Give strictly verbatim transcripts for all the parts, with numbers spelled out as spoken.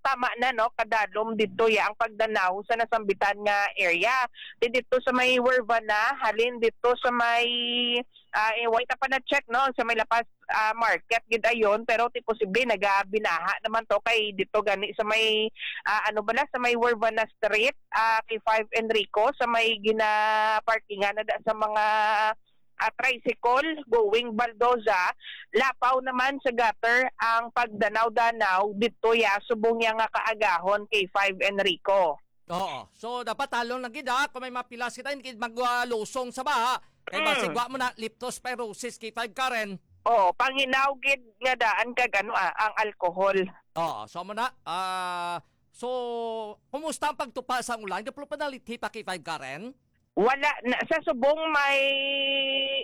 tama na, no, kadalom dito ya ang pagdanaw sa nasambitan nga area. Di dito sa may Wervana, halin dito sa may, ah, eh, wait pa na check, no, sa may Lapas, ah, Market gid ayon, pero ti posible nagabinaha naman to kay dito gani sa may, ah, ano bala, sa may Wervana Street, ah, kay five Enrico, sa may gina-parkingan na da sa mga, ah, tricycle going Baldoza, lapaw naman sa gutter ang pagdanaw-danaw dito ya subong ya nga kaagahon kay five Enrico. Oo. So, dapat talon lang gid, ha? Kung may mapilas kita, hindi maglusong sa baha. Kay Mm. masigwa mo na leptospirosis kay five Karen. Oo, panginaw gid nga daan kag ano, ah, ang alcohol. Oo, so mo na. Ah, so, kumusta ang pagtupa sa ulan? Kapag panalithi pa kay five Karen? Wala na, sa subong may,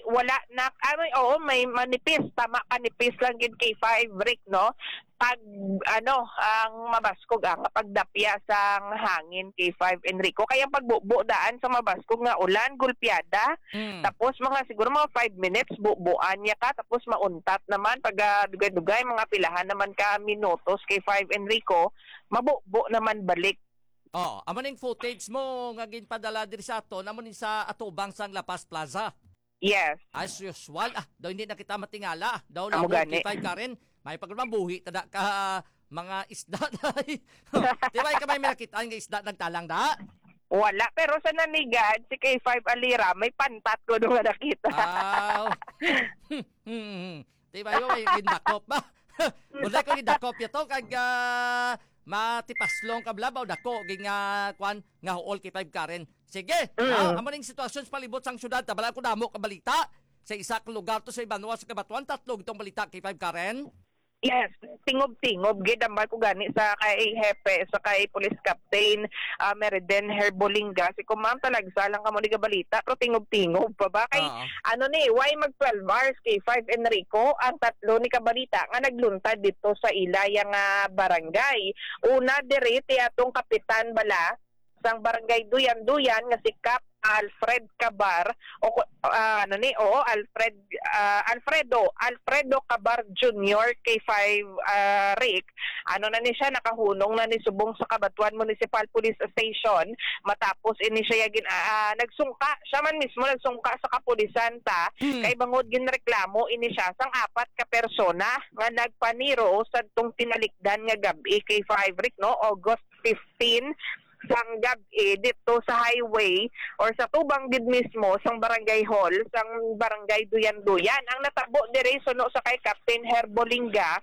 wala na, ah, may, oo, may manipis, tama, kanipis lang gid kay five Rick, no? Pag, ano, ang mabaskog, ang pagdapya sang hangin kay five Enrico. Kaya ang pagbubo daan sa mabaskog nga ulan, gulpiada, Mm. tapos mga, siguro mga five minutes, bubuan niya ka, tapos mauntat naman, pag, ah, dugay-dugay, mga pilahan naman ka minutos kay five Enrico, mabubo naman balik. Oh, amo ning footage mo nga ginpadala diri sa aton, amo ni sa atubang sang La Paz Plaza. Yes. As usual, ah, daw hindi na kita matingala. Daw Amo lamo gani. Kita, Karen. May pagmabuhi tada ka mga isda day. Di ba, ikaw may nakita nga isda nagtalang da? Wala, pero sa Nanigad, si K five Alira, may pantat ko doon nga nakita. Ah. Hmm. Di ba, yun, may gindakop ba? Wala ko gindakop ito, kag, ah, matipaslong ka bala ba, o dako, ging, ah, kwan, nga huol kay five Karen. Sige, Mm. ah, amo ning sitwasyon sa palibot sang syudad, tabala ko damo ka balita. Sa isa ka lugar to sa Ibanwa sa Kabatuan, tatlo gitong balita kay five Karen. Yes, tingob-tingob gid ang barko gani sa kay Hepe, sa kay Police Captain, ah, Meriden Herbolinga. Si Kumang talagsa lang kamo ni balita, pero tingob-tingob pa ba? Kay, Oo. ano ni, why mag twelve hours kay five Enrico ang tatlo ni kabalita nga nagluntad dito sa ila yang, ah, barangay? Una, diri ti atong kapitan bala sang barangay Duyan-Duyan nga si Kap Alfred Cabar, o ku-, ah, ano ni, oo, Alfred, ah, Alfredo, Alfredo Cabar Junior, K five, ah, Rick, ano na ni siya, nakahunong na ni subong sa Cabatuan Municipal Police Station, matapos ini siya gin-, ah, nagsungka, siya man mismo nagsungka sa kapulisan ta, Hmm. kay bangod ginreklamo ini siya sang apat ka persona nga nagpaniro sa tong tinalikdan nga gab-i kay five Rick, no, August fifteen, sang gab-i dito sa highway or sa tubang gid mismo sang barangay hall sang barangay Duyan-Duyan. Ang natabo diri suno sa kay Captain Herbolinga,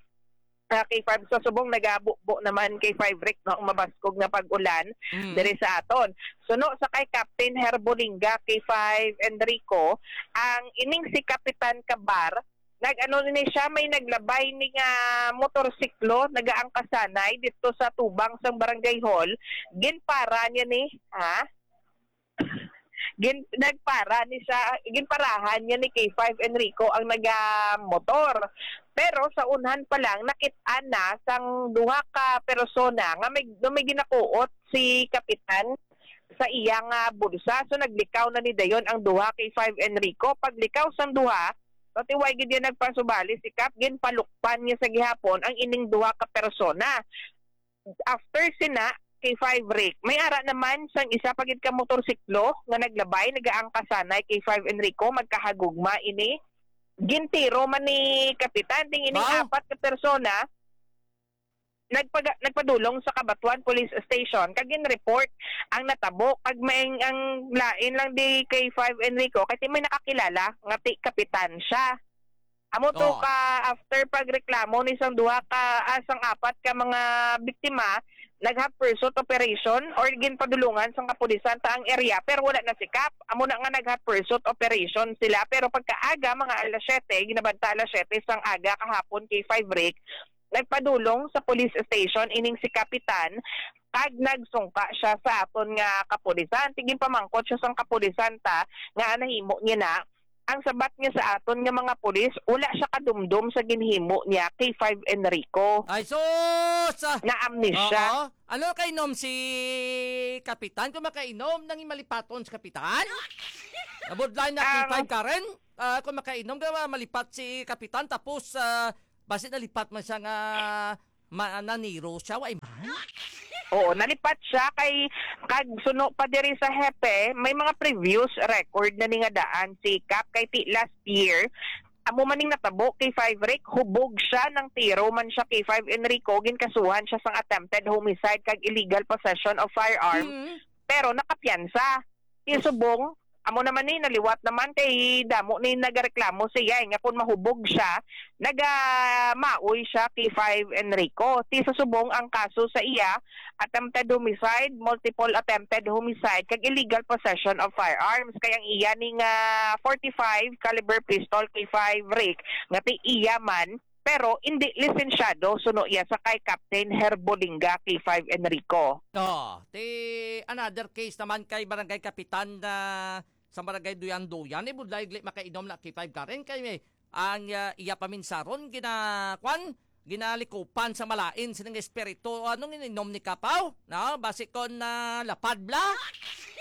ah, kay five sa subong nagabubo naman kay five Rick, no, ang mabaskog nga pag-ulan Mm. diri sa aton. Suno sa kay Captain Herbolinga, kay five Enrico, ang ining si Kapitan Kabar, nag-ano ni siya, may naglabay ni nga motorsiklo, nagaangkasanay dito sa tubang sang barangay hall. Ginpara niya ni, ha? Gin, nagpara ni siya, ginparahan niya ni K five Enrico ang nagamotor. Pero sa unhan pa lang, nakit-an na sang duha ka persona nga may, nga may ginakuot si Kapitan sa iya nga bulsa. So, naglikaw na ni dayon ang duha kay five Enrico. Paglikaw sang duha, patiway gid yan nagpasubali si Kap, ginpalukpan niya sa gihapon ang ining duha ka persona. After sina, kay five Rick, may ara naman sang isa pa gid ka motorsiklo nga naglabay, nagaangkasanay kay five Enrico, magkahagugma ini. Gintiro man ni Kapitan, ting ining Wow. apat ka persona, nagpaga-, nagpadulong sa Cabatuan Police Station kag gin-report ang natabo, kag may ang lain lang di kay five Enrico kay ti may nakakilala nga ti kapitan siya. Amo to Oo. ka after pagreklamo ni sang duha ka, ah, sang apat ka mga biktima, nag-have pursuit operation or ginpadulungan sang kapulisan ta ang area, pero wala na si Kap. Amo na nga nag-have pursuit operation sila, pero pagkaaga, mga alas siyete, ginabanta alas siyete sang aga kahapon kay five Rick, nagpadulong sa police station ining si Kapitan, kag nagsungka siya sa aton nga kapulisan. Ti ginpamangkot siya sang kapulisan ta nga nahimo niya na. Ang sabat niya sa aton nga mga pulis, wala siya kadumdom sa ginhimo niya kay five Enrico. Ay, sus! Ah, Na-amnesia. Oo. Ano kainom si Kapitan? Kung makainom, nang malipaton si Kapitan? Nabudlay na Ang kay five Karen? Ah, kung makainom ka, malipat si Kapitan, tapos, ah, basi nalipat man siya nga ma-, naniro siya, wa man. Oo, nalipat siya kay, kag suno pa diri sa hepe, may mga previous record na ni nga daan si Kap kay ti last year. Amo man ning natabo kay five Rick, hubog siya ng tiro man siya kay five Enrico, ginkasuhan siya sang attempted homicide kag illegal possession of firearm, Mm. pero nakapiyansa. Ti subong, amo naman ni naliwat naman kay damo ni nagareklamo siya, eh, nga kung mahubog siya, nagamaoy siya kay five Enrico. Ti sa subong ang kaso sa iya, attempted homicide, multiple attempted homicide, kag illegal possession of firearms. Kay ang iya ni nga forty-five caliber pistol kay five Rick, nga ti iya man, pero indi lisensyado suno iya sa kay Captain Herbolinga kay five Enrico. Oh, ti another case naman kay Barangay Kapitan na sa Barangay Duyan-Duyan, ni budlay gali makainom na kay five Karen kay may ang, ah, iya paminsaron gina-, kwan, ginalikupan sa malain sining espiritu. Anong ininom ni Kapaw? No? Basi kon, ah, lapad bla?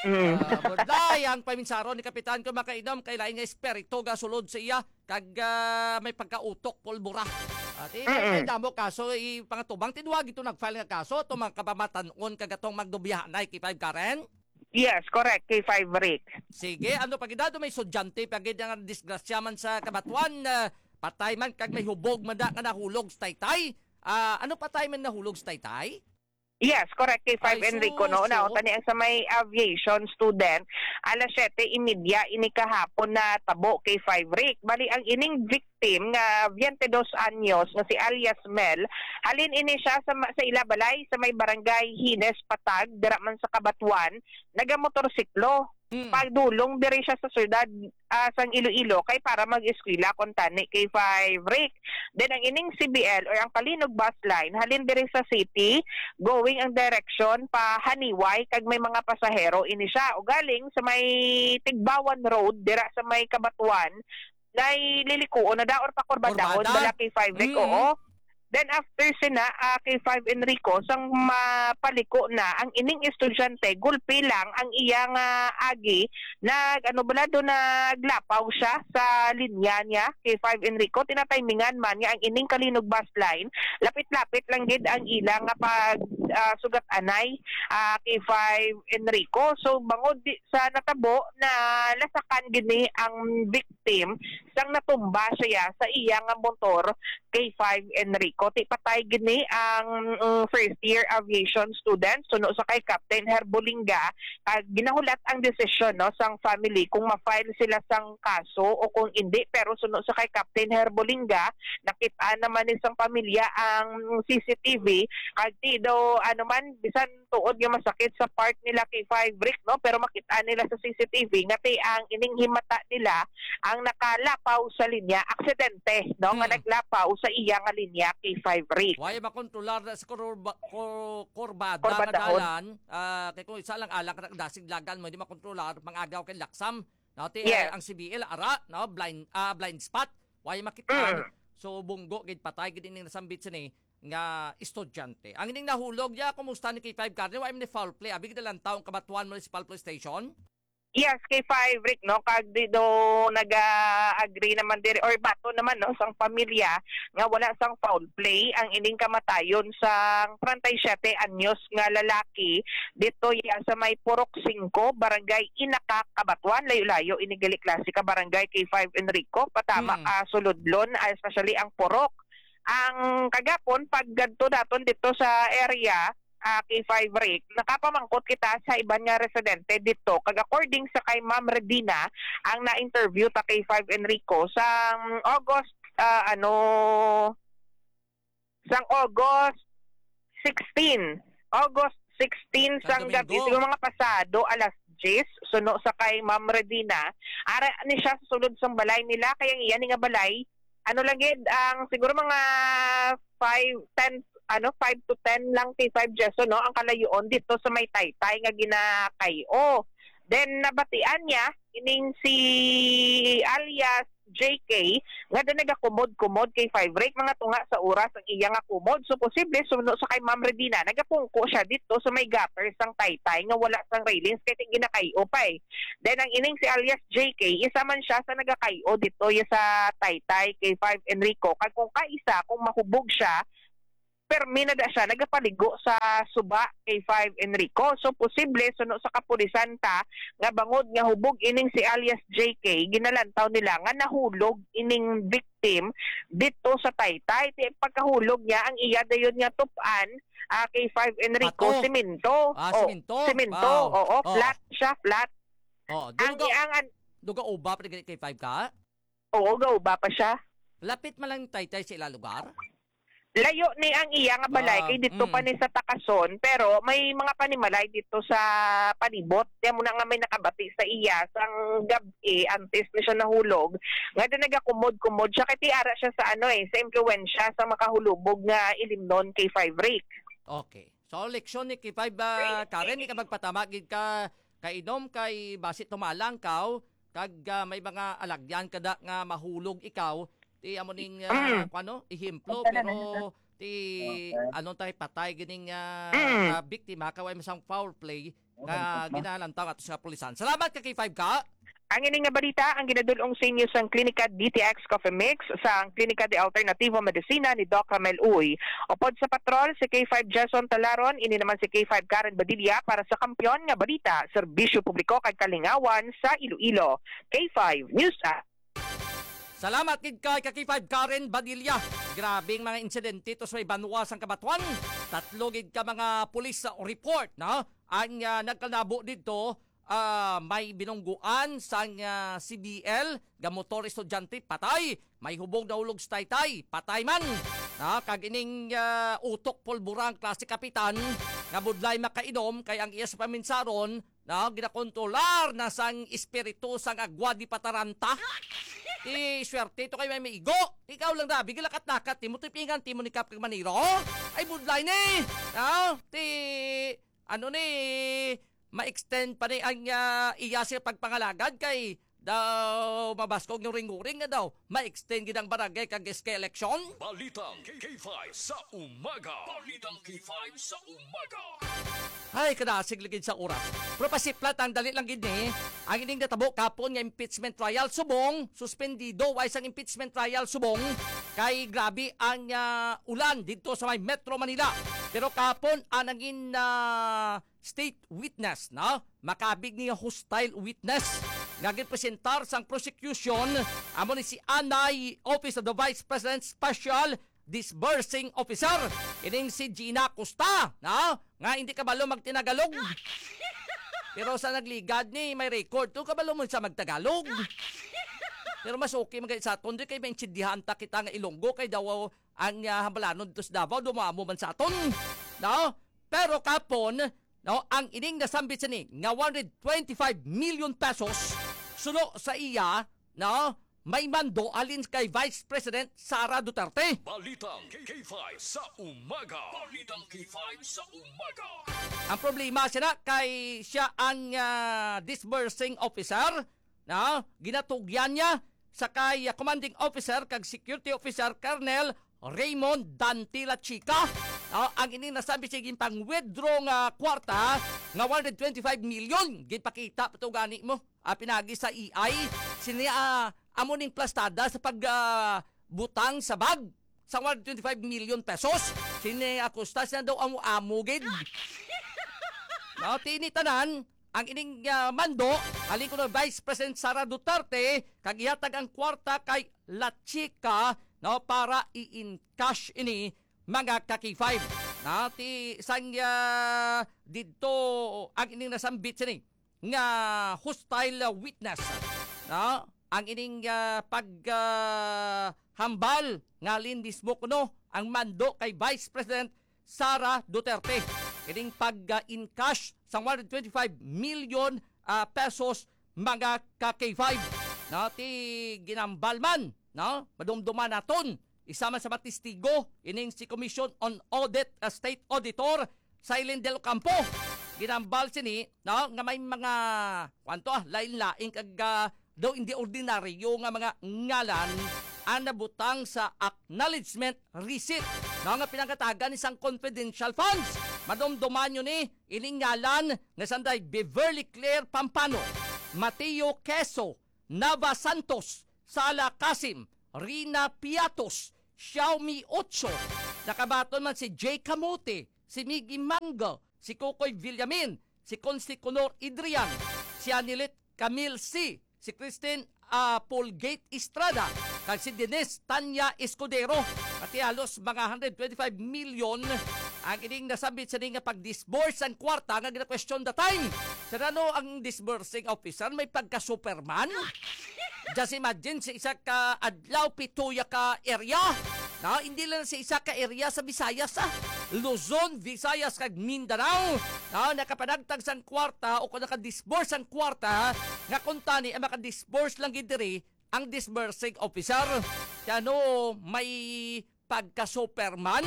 Mm. Ah, budlay ang paminsaron ni Kapitan kung makainom kay lain nga espiritu gasulod sa iya kag, ah, may pagkautok pulbura. At eh, may, may Mm-mm. damo kaso, i-, pangatubang tinduwag ito nag-file nga kaso, itong mga kapamatan-on kag atong magdubihanay kay five Karen. Yes, correct, kay five Rick. Sige, ano pa gid, may estudyante pa gid ang disgrasya man sa Kabatuan, ah, patay man kag may hubog man da nga nahulog sa taytay. Ah, ano patay man nahulog sa taytay? Yes, correct, kay five Ay, Enrico, no? sus, Una, so? Tani ang sa may aviation student, alas siyete y media ini kahapon na tabo kay five Rick. Bali, ang ining victim nga twenty-dos anyos nga si alias Mel, halin ini siya sa, ma-, sa ila balay sa may barangay Hines Patag, dira man sa Kabatuan, nagamotorsiklo. Mm. Pagdulong diri siya sa syudad, ah, sang Iloilo kay para mag-eskwela kon tani kay five Rick. Then ang ining C B L or ang Kalinog bus line halin diri sa city, going ang direksyon pa Haniway kag may mga pasahero ini siya. Ugaling sa may Tigbawan Road dira sa may Kabatuan, nililikuon na da or pakurbadahon Kurbada? bala kay five Rick, Mm. oo. Then after sina, ah, kay five Enrico, sang mapaliko na ang ining estudyante, gulpi lang ang iya nga agi, nag, ano bala, do naglapaw siya sa linya niya kay five Enrico. Tinatimingan man nga ang ining Kalinog bus line, lapit-lapit lang gid ang ila nga pag, ah, sugat-anay, ah, kay five Enrico. So, bangod di, sa natabo, na lasakan gini ang victim sang natumba siya sa iya nga motor kay five Enrico. Ti patay gini ang, mm, first year aviation student suno sa kay Captain Herbolinga. Ah, ginahulat ang desisyon, no, sang family kung ma-file sila sang kaso o kung hindi. Pero suno sa kay Captain Herbolinga, nakit-an naman ni sang pamilya ang C C T V. Kag ti daw, ano man, bisan tuod nga masakit sa part nila kay five Rick, no? Pero makita nila sa C C T V nga ti ang ining himata nila ang nakalapaw sa linya, aksidente, no? Nga Hmm. naglapaw sa iya nga linya kay five Rick. Wala makontrolar na sa kurba-, kur-, kurbada nga Kurbadahon. dalan, ah, kay kung isa lang alang ka dasig lagan mo, hindi makontrolar, mangagaw kay laksam. No, ti, Yes. ang C B L, ara, no, blind, ah, blind spot. Wala makita. Mm. So, bunggo, gid patay, gid ining nasambit sini nga estudyante. Ang ining nahulog, ya, kumusta ni K five Karen? Wa man ni foul play. Abi gid lang taong Kabatuan Municipal Police Station? Yes, K five Rick, no? Kag di do nag-agree naman diri or bato naman, no, sang pamilya nga wala sang foul play ang ining kamatayon sang treinta y siete anyos nga lalaki dito ya sa may Purok singko, Barangay Inaca, Cabatuan. Layo-layo ini gali klase ka barangay, K five Enrico, patama Mm. ka suludlon, ah, especially ang Purok. Ang kagapon, pag gadto daton dito sa area, ah, K five Rick, nakapamangkot kita sa iban nga residente dito. Kag according sa kay Ma'am Redina, ang na-interview ta K five Enrico, sa August, ah, ano, sang August sixteen. August sixteen Sa sang gabi, Domingo. Siguro mga pasado alas diyes, suno sa kay Ma'am Redina. Ara ni siya sa sulod sang balay nila, kay ang iya ni nga balay, ano lang gid, ang siguro mga five, ten, ano, five to ten lang, K five Jeso, no, ang kalayoon dito sa may taytay nga ginakay-o. Then, nabatian niya, ining si alias J K, nga doon nagakumod-kumod kay five Rick, mga tunga sa oras ang iya nga kumod. So, posible, suno sa kay Ma'am Redina, nagapungko siya dito sa may gutter sang taytay nga wala sang railings, kay ginakay-o pa eh. Then, ang ining si alias J K, isa man siya sa nagakay-o dito ya sa taytay kay five Enrico. Kag kung kaisa, kung mahubog siya, permi na da siya nagapaligo sa suba, K five Enrico. So, posible suno sa kapulisan ta nga bangod nga hubog ining si alias J K, ginalantaw nila nga nahulog ining victim dito sa taytay. Ti pagkahulog niya, ang iya dayon nga tup-an, ah, K five Enrico, Bato. Semento. Ah, Oh, semento. Semento, Wow. Oo, Oh. flat siya, flat. Oh, Ang duga, ang an- duga uba pa ni K five ka? Oo, gauba pa siya. Lapit man lang taytay sa ila lugar? Layo ni ang iya nga balay, Wow. kay dito pa Mm. ni sa Takason, pero may mga panimalay dito sa palibot. Kaya mo na nga may nakabati sa iya sang gab-i, antes na siya nahulog, nga doon nagakumod-kumod siya. Kay tiara siya sa ano eh, sa impluwensya sa makahulubog nga ilimnon kay Five Rick. Okay. So, leksyon ni K five, ah, Karen, di ka magpatama gid ka kainom kay basi tumalang kaw, kag, ah, may mga alagyan ka da nga mahulog ikaw, ti amo ning, ah, Mm. kuwano, ehemplo, Ito na, pero ito. ti Okay. Anong tayo patay gining, ah, Mm. ah, biktima, kaway mo sang foul play nga Okay. ginalantaw ato sa kapulisan. Salamat ka, K five ka. Ang ini nga balita ang ginadul-ong sa inyo sang Klinika D T X Coffee Mix, sang Klinika de Alternativo Medicina ni Doc Ramel Uy. Upod sa patrol, si K five Jason Talaron, ini naman si K five Karen Badilla para sa Kampiyon nga Balita, Serbisyo Publiko kag Kalingawan sa Iloilo. K five News App. Salamat gid kay ka K five Karen Badilla. Grabing mga insidente to sa may banwa sang Cabatuan. Tatlo gid ka mga pulis sa report, no? Ang, ah, nagkalabo didto, ah, may binungguan sang, ah, C B L, nga motor estudyante, patay. May hubog na ulog sa taytay, patay man. Na, kag ining, ah, utok pulbura ang klase kapitan, nga budlay makainom, kay ang iya sa paminsaron, na, ginakontrolar na sang espiritu sang agwa di pataranta. Ti swerte to kay may maigo. Ikaw lang, Dabi, gilakat-lakat, timo tipingan, timo ni Kap kag Maniro. Ay, budlay ni. Na, ti, ano ni, ma-extend pa ni ang, ah, iya siya pagpangalagad kay daw mabaskog yung ring-uring nga daw ma-extend gid ang barangay kag S K election. Balitang K five sa umaga. Balitang K five sa umaga. Ay, kadasig lagi sa oras. Pero pasiplat ang dali lang gid ni. Ang ining natabo kapon nga impeachment trial subong, suspendido way sang impeachment trial subong kay grabe ang, ah, ulan didto sa may Metro Manila. Pero kapon ang nangin, ah, state witness, no? Makabig ni hostile witness nga ginpresentar sang prosecution, amo ni si Anay, Office of the Vice President Special Disbursing Officer. Ining si Gina Costa, no? Nga hindi kabalo magtinagalog. Pero sa nagligad ni may record to, kabalo mo sa magtagalog. Pero mas okay man gani sa aton, di kay maintindihan ta kita nga Ilonggo kay daw ang, ah, hambalanon to sa Davao, dumamo man sa aton. No? Pero kapon, no, ang ining nasambit sini nga one hundred twenty-five million pesos suno sa iya, no, may mando halin kay Vice President Sara Duterte. Balitang K five sa umaga. Balitang K five sa umaga. Ang problema sina kay siya ang, ah, disbursing officer, na ginatugyan niya sa kay, ah, commanding officer kag security officer Colonel Raymond Dante Lachica. Ah, ang ining nasabi sa ginpang-withdraw nga kwarta nga one hundred twenty-five million, ginpakita pa to gani mo, ah, pinagi sa A I. Sini, ah, amo ning plastada sa pag, ah, butang sa bag sa one hundred twenty-five million pesos. Sini Acosta, siya daw amo-amo gid. No, tini tanan, ang ining, ah, mando, halin kuno Vice President Sara Duterte, kag ihatag ang kwarta kay Lachica, no, para i-encash ini, mga ka K five. Na, ti, sang, ah, didto, ang ining nasambit sini nga hostile witness, no? Ang ining, ah, pag, ah, hambal nga halin mismo kuno ang mando kay Vice President Sara Duterte. Ining pag, ah, encash sang one hundred twenty-five million, ah, pesos, mga ka K five. No, ti ginambal man, no? Madumduman naton. Isa man sa mga testigo, ining si Commission on Audit, ah, State Auditor Silene Del Ocampo. Ginambal sini, no, nga may mga, kwanto, ah, lain-lain kag, ah, daw hindi ordinaryo nga mga ngalan ang nabutang sa acknowledgement receipt, no, nga pinangatagan ni sang confidential funds. Madumduman nyo ni, ining ngalan nga sanday Beverly Claire Pampano, Mateo Queso, Nava Santos, Sala Kasim, Rina Piatos, Xiaomi Ocho, Nakabaton man si Jay Camote, si Miggy Mango, si Kokoy Villamin, si Consi Conor Adrian, si Anilet Camille C, si Christine ah, Polgate Estrada, kag si Denise Tanya Escudero. Pati halos mga hundred twenty-five million ang ining nasambit sa nga pag-disburse ang kwarta nga gina-question the time. Sa ano ang disbursing officer may pagka-Superman? Just imagine, sa isa ka adlaw, pituya ka area. No, hindi lang sa isa ka area sa Visayas, ah. Luzon, Visayas, kag Mindanao. No, nakapanagtag sang kwarta o kung naka-disburse ang kwarta, nga kung tani ang maka-disburse lang gid diri ang disbursing officer. Kaya no, may pagka-Superman.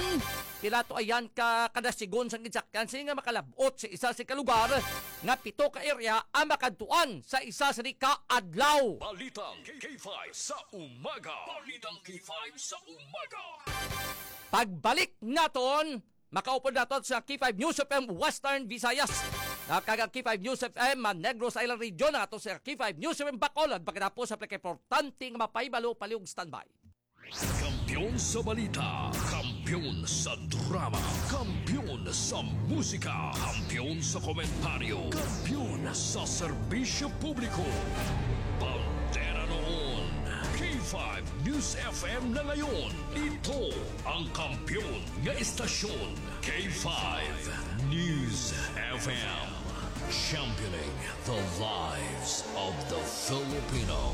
Pila to ayan ka kada sigon sang ginsakyan, sini nga makalabot sa isa sa ka lugar nga pito ka area ang makadtuan sa isa sa di ka adlaw. Balitang K five sa umaga. Balitang K five sa umaga. Pagbalik naton, makaupod naton sa K five News F M Western Visayas. Nakag ang K five News F M ang Negros Island Region, ato sa K five News F M Bacolod, pagkatapos sa pinakaimportante nga mapahibalo, palihog standby. Kampiyon sa balita, kampiyon sa drama, kampiyon sa musika, kampiyon sa komentaryo, kampiyon sa serbisyo publiko. Bandera noon, K five News F M na ngayon. Ito ang kampiyon nga estasyon, K five News F M. Championing the lives of the Filipino.